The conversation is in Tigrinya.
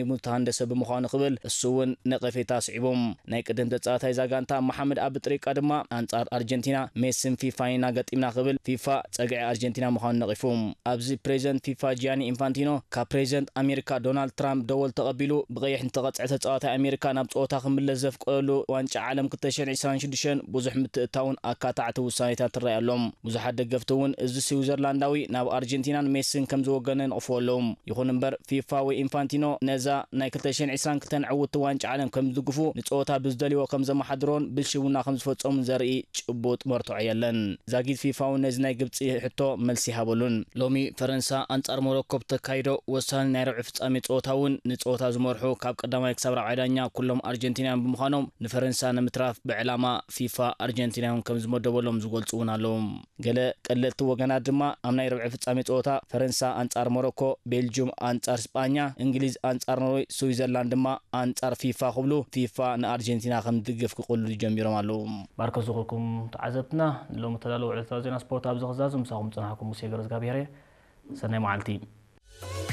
ኢቡ ዝተሃንደሰ ብምዃኑ ክብል እሱ እውን ነቐፌታ ኣስዒቡ። ናይ ቅድም ተጻዋታይ እዛ ጋንታ መሓመድ ኣብጥሪቃ ድማ ኣንጻር ኣርጀንቲና ሜስን ፊፋን ኢና ገጢምና ክብል ፊፋ ጸግዒ ኣርጀንቲና ምዃኑ ነቒፉ። ኣብዚ ፕሬዚደንት ፊፋ ጂያኒ ኢንፋንቲኖ ካብ ፕሬዚደንት ኣሜሪካ ዶናልድ ትራምፕ ደወል ተቐቢሉ ብቐይሕ ንተቐጽዐ ተጻዋታይ ኣሜሪካ ናብ ጸወታ ክምለስ ዘፍቀደሉ ዋንጫ ዓለም ክልተ ሽሕን ዕስራን ሽዱሽተን ብዙሕ ምትእታውን ኣካታዕቲ ውሳኔታት ትረኣይ ኣሎም። ብዙሓት ደገፍቲ እውን እዚ ስዊዘርላንዳዊ ናብ ኣርጀንቲናን ሜስን ከም ዝወገነ ይነቕፍዎ ኣለዉ። ይኹን እምበር ፊፋ ወይ ኢንፋንቲኖ ነዛ ናይ ክልተ ሽሕን ዕስራን ክልተን ዕውትቲ ዋንጫ ዓለም ከም ዝድግፉ ንጸወታ ብዝደልይዎ ከም ዘመሓድሮን ብልሽውና ከም ዝፈጸሙን ዘርኢ ጭቡጥ መርትዖ የለን። ዛጊት ፊፋ እውን ነዚ ናይ ግብጺ ሕቶ መልሲ ይሃበሉን። ሎሚ ፈረንሳ ኣንጻር ሞሮኮ ብተካይዶ ወሳኒ ናይ ርብዒ ፍጻሜ ጸወታ እውን ንጸወታ ዝመርሑ ካብ ቀዳማይ ክሳብ ራብዓይ ዳኛ ኩሎም ኣርጀንቲናውያን ብምዃኖም ንፈረንሳ ንምትራፍ ብዕላማ ፊፋ ኣርጀንቲናውያን ከም ዝመደበሎም ዝገልጹ እውን ኣለዉ። ገለ ቀለልቲ ወገናት ድማ ኣብ ናይ ርብዒ ፍጻሜ ጸወታ ፈረንሳ ኣንጻር ሞሮኮ፣ ቤልጁም ኣንጻር ስጳኛ፣ እንግሊዝ ኣንጻር ኖርወይ፣ ስዊዘርላንድ ድማ ኣንጻር ፊፋ ክብሉ ፊፋ ንኣርጀንቲና ከም ዝድግፍ ክቕሉ ጀሚሮም ኣለዉ። ባርከ ዝኹልኩም ተዓዘብትና ንሎሚ ተዳለወ ዕለታዊ ዜና ስፖርት ኣብዚ ክዛዙ ምሳኹም ጸናሕኩም ሙሴ ገረዝጋብሔር እየ። ሰናይ መዓልቲ።